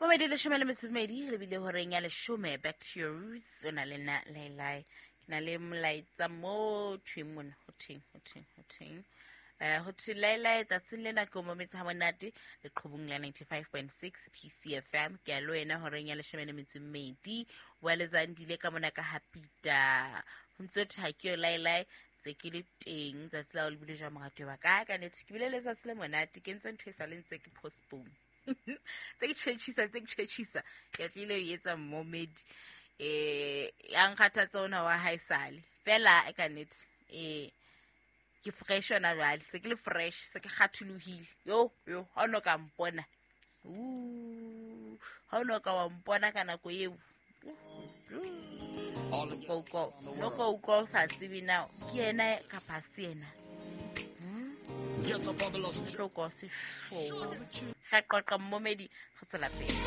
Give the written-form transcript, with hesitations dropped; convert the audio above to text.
Momedi 12 lebile horeng ya 10. Back to your roots, o na le nna Lailai. Ke na le molaetsa mo thweng mona, ho thweng, ho thweng, ho thweng. Ho thwe Lailai, tsatsing lena ke o mometse ha monate leqhubung la 95.6 PCFM. Ke a le wena horeng ya 12. Wa lezandile ka mona ka hapita. Ho ntse thwe ha ke yo Lailai, se ke le teng tsatsi la o lebile jwa moratuwa wa ka. Ka nnete ke bile letsatsi le monate, ke ntse ntho e sa le ntse ke postpone. Tse ke tšhetšhisa, tse ke tšhetšhisa, ke tlile e etsa momedi ya nkgathatsa ona wa hae sale fela e ka nnete. Ke fresh yona jwale, se ke le fresh, se ke kgatholohile. Yo yo, ha o no ka mpona, ha o no ka wa mpona ka nako eo, no ka utlwa o sa tsebe na ke yena kapa se yena. Hloko se sho. Ga qoqa mmomedi, go tswela pele.